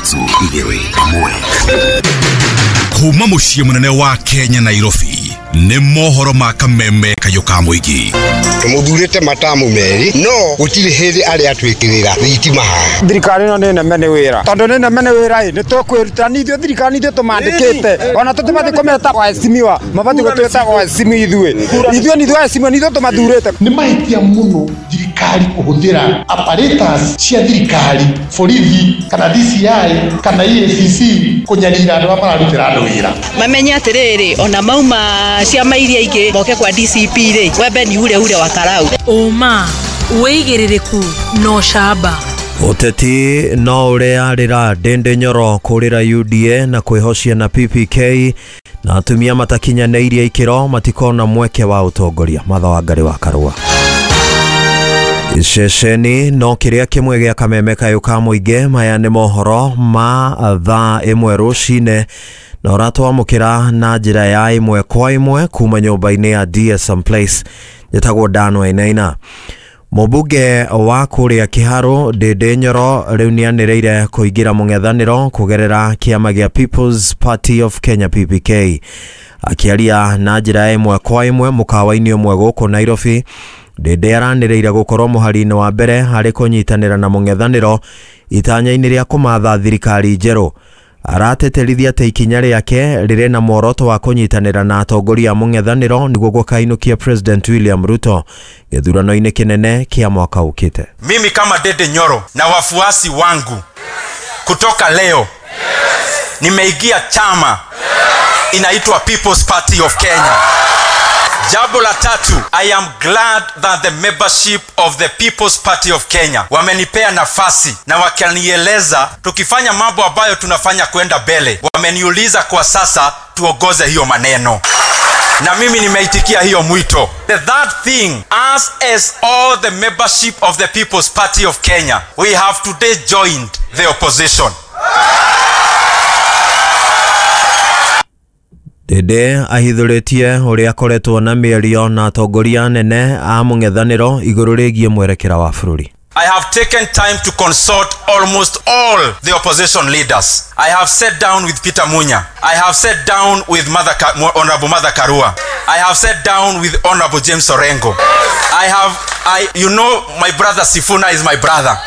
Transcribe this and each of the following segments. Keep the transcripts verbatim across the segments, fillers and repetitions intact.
Ithatũ igĩrĩ ĩmwe. Kuma mũciĩ mũnene wa Kenya Nairobi nĩ mohoro ma kameme kayũ ka mũingĩ. Tũmũthurĩte matamu merĩ no gũtirĩ hĩndĩ arĩa atwĩkĩrĩra thitima haha. Thirikari ĩno nĩ neme nĩ wĩra, tondũ nĩ neme nĩ wĩra ĩ nĩ tũkwĩruta nĩ ithuĩ thirikari ithuĩ tũmandĩkĩte, ona tũtibatiĩ kũmeta waheshimiwa, mabatiĩ gũtwĩta waheshimiwa ithuĩ ithuĩ nĩ ithuĩ waheshimiwa nĩ ithuĩ tũmathurĩte. Nĩ mahĩtia mũno thirikari kũhũthĩra apparatus cia thirikari, borithi kana D C I kana E A C C kũnyarira andũ arĩa mararutĩra andũ wĩra. Mamenye atĩrĩrĩ, ona mauma ciama iria ingĩ moke kwa D C P rĩ, wembe ni ure ure wa karau. Ũma wĩigĩrĩrĩku no camba. Ũteti no ũrĩa rĩra Ndindi Nyoro kũrĩra U D A na kwĩhocia na P P K na atumia matakinyanĩirie ikĩro matikona mweke wa ũtongoria. Matha wa Ngarĩ wa Karũa. Ceceni no kĩrĩa kĩmwe gĩa kameme kayũ ka mũingĩ. Maya nĩ mohoro ma thaa ĩmwe rũcinĩ na ũratwamũkĩra na njĩra ya ĩmwe kwa ĩmwe kuma nyũmba-inĩ ya D S M Place. Njĩtagwo Dan Wainaina. Mũmbunge wa kũrĩa Kĩharũ Ndindi Nyoro rĩu nĩanĩrĩire kũingĩra mũng'ethanĩro kũgerera kĩama gĩa People's Party of Kenya P P K. Akĩaria na njĩra ĩmwe kwa ĩmwe mũkawa-inĩ ũmwe gũkũ Nairobi, Ndindi aranĩrĩire gũkorwo mũhari-inĩ wa mbere harĩ kũnyitanĩra na mũng'ethanĩro itanya-inĩ rĩa kũmatha thirikari njerũ. Arateterithia atĩ ikinya rĩake rĩrĩ na muoroto wa kũnyitanĩra na atongoria a mũng'ethanĩro nĩguo gũkainũkia President William Ruto gĩthurano-inĩ kĩnene kĩa mwaka ũkĩte. Mimi kama Ndindi Nyoro na wafuasi wangu kutoka leo nimeingia chama inaitwa People's Party of Kenya. Jambo la tatu, I am glad that the membership of the People's Party of Kenya wamenipea nafasi na wakanieleza tukifanya mambo ambayo tunafanya kwenda mbele. Wameniuliza kwa sasa tuongoze hiyo maneno. Na mimi nimeitikia hiyo mwito. The third thing, as as all the membership of the People's Party of Kenya, we have today joined the opposition. Ndindi ahithũrĩtie ũrĩa akoretwo na mĩario na atongoria anene a mũng'ethanĩro igũrũ rĩgiĩ mwerekera wa bũrũri. I have taken time to consult almost all the opposition leaders. I have sat down with Peter Munya. I have sat down with Mother Ka- Honorable Martha Karua. I have sat down with Honorable James Orengo. I have, I, you know, my brother Sifuna is my brother.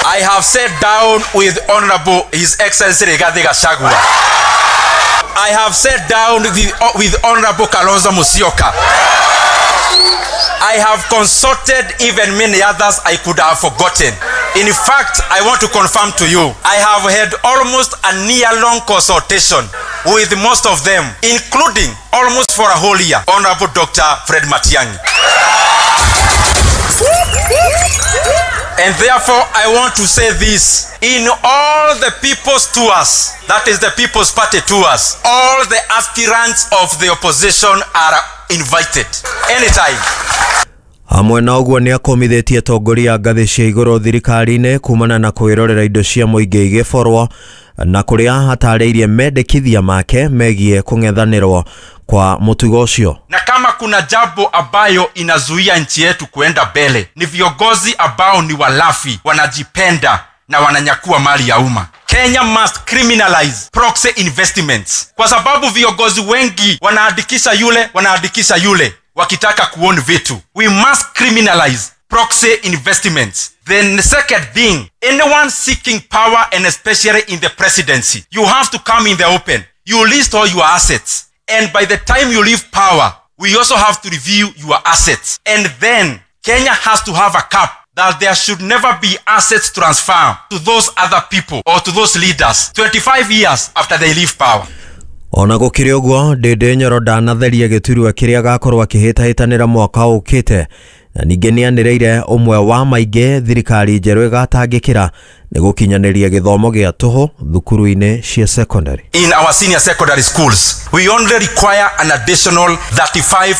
I have sat down with Honorable His Excellency Rigathi Gachagua. I have sat down with, with Honorable Kalonzo Musyoka. I have consulted even many others I could have forgotten. In fact, I want to confirm to you, I have had almost a year-long consultation with most of them, including almost for a whole year, Honorable Doctor Fred Matiang'i. And therefore, I want to say this. In all the people's tours, that is the People's Party tours, all the aspirants of the opposition are invited. Anytime. Hamwe na ũguo nĩ akomithĩtie atongoria ngathĩ cia igũrũ thirikari-inĩ kumana na kwĩrorera indo cia mũingĩ igĩborwo na kũrĩa hatarĩirie mendekithia make megiĩ kũng'ethanĩrwo kwa mũtugo ũcio. Na kama kuna jambo ambayo inazuia nchi yetu kuenda mbele ni viongozi ambao ni walafi, wanajipenda na wananyakua mali ya umma. Kenya must criminalize proxy investments, kwa sababu viongozi wengi wanaandikisha yule, wanaandikisha yule wakitaka kuown vitu. We must criminalize proxy investments. Then the second thing, anyone seeking power and especially in the presidency, you have to come in the open. You list all your assets. And by the time you leave power, we also have to review your assets. And then Kenya has to have a cap that there should never be assets transfer to those other people or to those leaders twenty-five years after they leave power. Ona gũkĩrĩ ũguo, Ndindi Nyoro ndanatheria gĩturwa kĩrĩa agakorwo akĩhĩtahĩtanĩra mwaka ũkĩte, na ningĩ nĩanĩrĩire ũmwe wa maingĩ thirikari njerũ ĩgatangĩkĩra nĩ gũkinyanĩria gĩthomo gĩa tũhũ thukuru-inĩ cia secondary. In our senior secondary schools, we only require an additional thirty-five